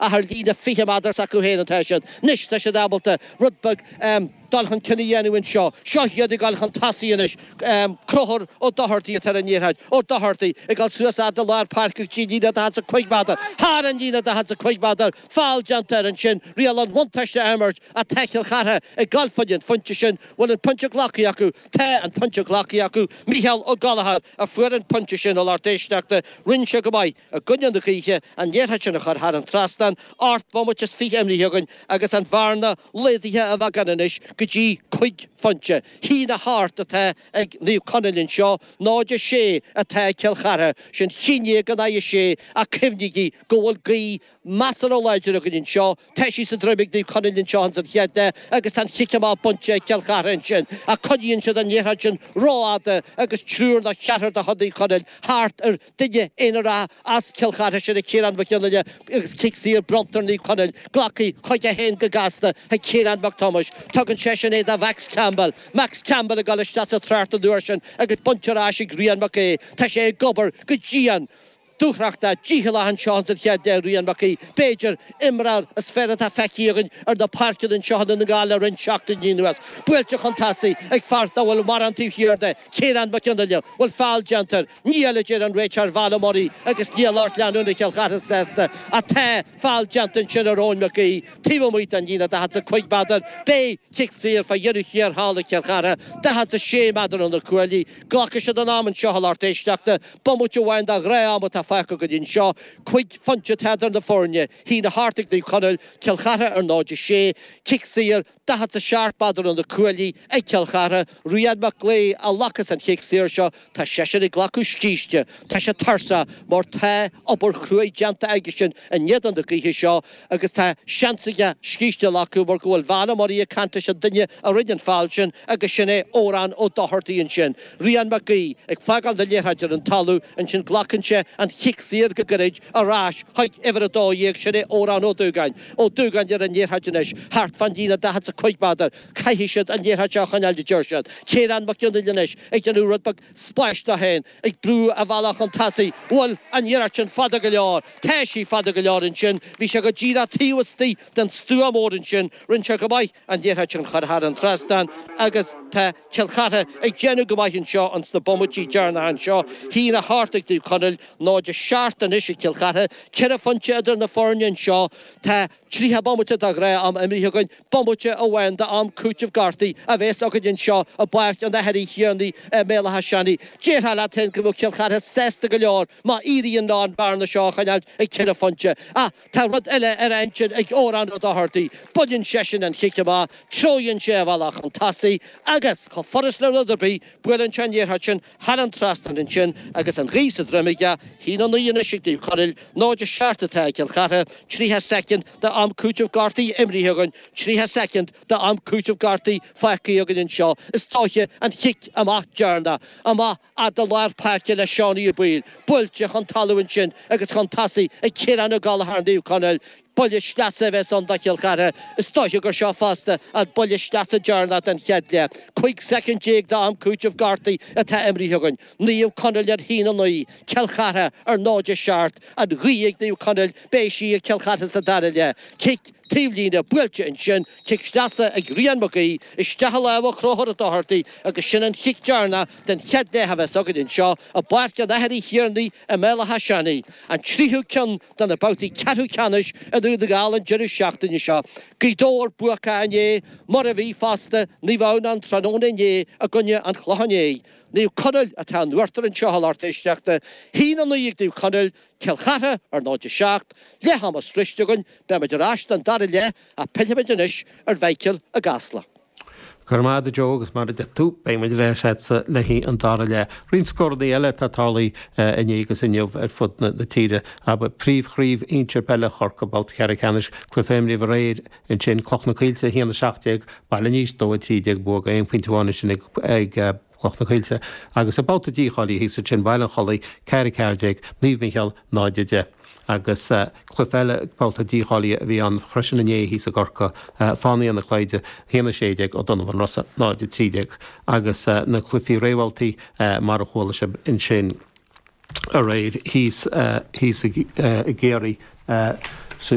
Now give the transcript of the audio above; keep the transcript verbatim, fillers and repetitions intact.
Ach ar líne fiche méadar s'acu féin atá siad. Anois tá siad ábalta rud beag dul chun cinn a dhéanamh anseo. Seo iad ag dul chun tosaigh anois. Conchúr Ó Dochartaigh atá ar an liathróid. Ó Dochartaigh ag dul suas fhad le lár páirce go dtí an líne daichead 's a cúig méadar. Thar an líne daichead 's a cúig méadar. Feall déanta air ansin. Riail an bhuntáiste á imirt ach tá Cill Chartha ag dul fá choinne an phointe sin. Bhfuil an pointe glactha acu? Tá an pointe glactha acu. Mícheál Ó Gallchóir a fuair an pointe sin, a lucht éisteachta. Rinne sé go maith i gcoinne na gaoithe an liathróid sin a chur thar an trasnán. Ocht mbomaite is fiche imrithe againn agus an bhearna laghdaithe a bheagán anois go dtí cúig phointe. Haon a hocht atá ag Naomh Conaill anseo, náid a sé atá ag Cill Chartha. Sin haon déag in aghaidh a sé ach cuimhnígí go bhfuil gaoth measartha láidir againn anseo. Tá sí sa droim ag Naomh Conaill anseo ins an chéad leath agus tá an chic amach bainte ag Cill Chartha ansin ach coinníonn siad an liathróid sin rófhada agus triúr nó ceathrar de chuid Naomh Conaill thart ar duine aonarach as Cill Chartha, sin é Ciarán Mac Fhionnaile agus cic saor bronnta ar Naomh Conaill, glactha chuige féin go gasta ag Ciarán Mac Thomáis. Tugann seisean é do Mhax Campbell. Max Campbell ag dul isteach sa trácht an uair sin agus bainte ar ais ag Rian Mac Aoidh. Tá sé ag obair go dian. Dúthrachtach, dícheallach anseo ins an chéad leath, Rian Mac Aoidh, b'fhéidir, imreoir is fearr atá feicthe againn ar na páirceanna anseo i nDún na nGall le roinnt seachtainí anuas. Buailte chun tosaigh ag fear nach bhfuil mórán taobh thiar de, Ciarán Mac Fhionnaile. Bhfuil feall déanta air? Níl, a deir an réiteoir Val Murray agus níl lucht leanúna Chill Chartha sásta. Ach tá feall déanta ansin ar Eoin Mac Aoidh, taobh amuigh den líne daichead 's a cúig méadar. Beidh cic saor fá dheireadh thiar thall ag Cill Chartha, daichead 's a sé méadar ó na cuaillí. Glacfaidh siad an am anseo, a lucht éisteachta. Bomaite amháin de ghnáth-am atá fágtha againn anseo. Cúig phointe atá idir na foirne. Haon a hocht ag Naomh Conaill, Cill Chartha ar náid a sé. Cic saor, daichead 's a seacht méadar ó na cuaillí ag Cill Chartha. Rian Mac Aoidh a ghlacfas an chic saor seo. Tá seisean ag glacadh scíste. Tá sé tuirseach mar tá obair chruaidh déanta aigesean in éadan na gaoithe seo agus tá seans aige scíste a ghlacadh mar go bhfuil Val Murray ag caint leis an duine a rinne an feall sin agus sin é Odhrán Ó Dochartaigh ansin. Rian Mac Aoidh ag fágáil na liathróide ar an talamh ansin glacann sé an chic saor go gairid ar ais chuig uimhir a dó dhéag, sin é Odhrán Ó Dúgáin. Ó Dúgáin ar an liathróid anois thart fán líne daichead 's a cúig méadar. Caithfidh siad an liathróid seo a choinneáil a deir siad. Ciarán Mac Fhionnaile anois ag déanamh rud beag spáis dó féin, ag brú a bhealach chun tosaigh. Bhfuil an iarracht sin fada go leor? Tá sí fada go leor ansin. Bhí sé go díreach taobh istigh den stua mór ansin. Rinne sé go maith an liathróid sin a chur thar an trasnán agus tá Cill Chartha ag déanamh go maith anseo ins na bomaití deireanacha anseo. Haon a hocht ag Naomh Conaill, náid a seacht anois ag Cill Chartha. Ceithre phointe idir na foirne anseo. Tá tríocha bomaite de ghnáth-am imrithe againn. Bomaite amháin d'am cúitimh gortaithe a bheas againn anseo i bPáirc an Athar Uí Thiarnaigh i mBéal Átha Seanaidh. Déarfá leat féin go mbeadh Cill Chartha sásta go leor má éiríonn leo an bhearna seo a choinneáil ag ceithre phointe. Ach tá rud eile ar a intinn ag Odhrán Ó Dochartaigh. Baineann seisean an chic amach, treoraíonn sé a bhealach chun tosaigh agus, chomh furast le rud ar bith, buaileann sé an liathróid sin thar an trasnán ansin agus an ghaoth sa droim aige. Haon a naoi anois ag Naomh Conaill, náid a seacht atá ag Cill Chartha, tríocha soicind d'am cúitimh gortaithe imrithe againn, tríocha soicind d'am cúitimh gortaithe fágtha againn anseo. Is dóiche an chic amach deireanach, amach fhad le lár páirce le Seánie Ó Baoill, buailte chun talaimh ansin agus chun tosaigh ag Ciarán Ó Gallchóir Naomh Conaill. Buille sleasa a bheas ann do Chill Chartha. Is dóiche gur seo fosta an buille sleasa deireanach den chéad leath. Cúig soicind déag d'am cúitimh gortaithe atá imrithe againn. Naomh Conaill ar haon a naoi, Cill Chartha ar náid a seacht. An ghaoth ag Naomh Conaill, beidh sí ag Cill Chartha sa dara leath. Cic taobhlíne buailte ansin, cic sleasa ag Rian Mac Aoidh, isteach i lámha Chonchúir Ó Dochartaigh agus sin an chic deireanach den chéad leath a bheas againn anseo i bPáirc an Athar Uí Thiarnaigh i mBéal Átha Seanaidh. An tríú ceann de na babhtaí ceathrú ceannais i nDún na nGall an deireadh seachtaine seo. Gaoth Dobhair buacach inné, mar a bhí fosta Naomh Adhamhnáin tráthnóna inné i gcoinne an Chlocháin Léith. Naomh Conaill atá in uachtar anseo a lucht éisteachta. Haon a naoi ag Naomh Conaill, Cill Chartha ar náid a seacht, leath ama sroichte againn, beimid ar ais don dara leath ach pillfimid anois ar Mhichael i gCasla. Go raibh maith agat a Joe agus mar a deir tú, beidh muid ar ais agatsa le haghaidh an dara leath. Roinnt scóranna eile atá tarlaithe inné agus inniu ar fud na tíre. Abair, Príomhchraobh Shinsir Peile Chorcaí, babhta ceathrú ceannais, cluiche imrithe aréir ansin, Cloich na Coillte a haon a seacht déag, Baile an Eich dó a trí déag, bua aon phointe amháin ansin ag Cloich na Coillte, agus i babhta dícháilithe thíos ansin, Baile an Chollaigh, ceathair a ceathair déag, Naomh Micheál, náid a deich. Agus cluiche eile babhta dícháilithe a bhí ann freisin inné thíos i gCorcaigh, Fánaithe na Cloiche, a haon a sé déag, Ó Donnabháin Rosa, náid a trí déag. Agus na cluichí réamhbhabhtaí mar a chuala sibh ansin aréir thíos thíos i gCiarraí. Sa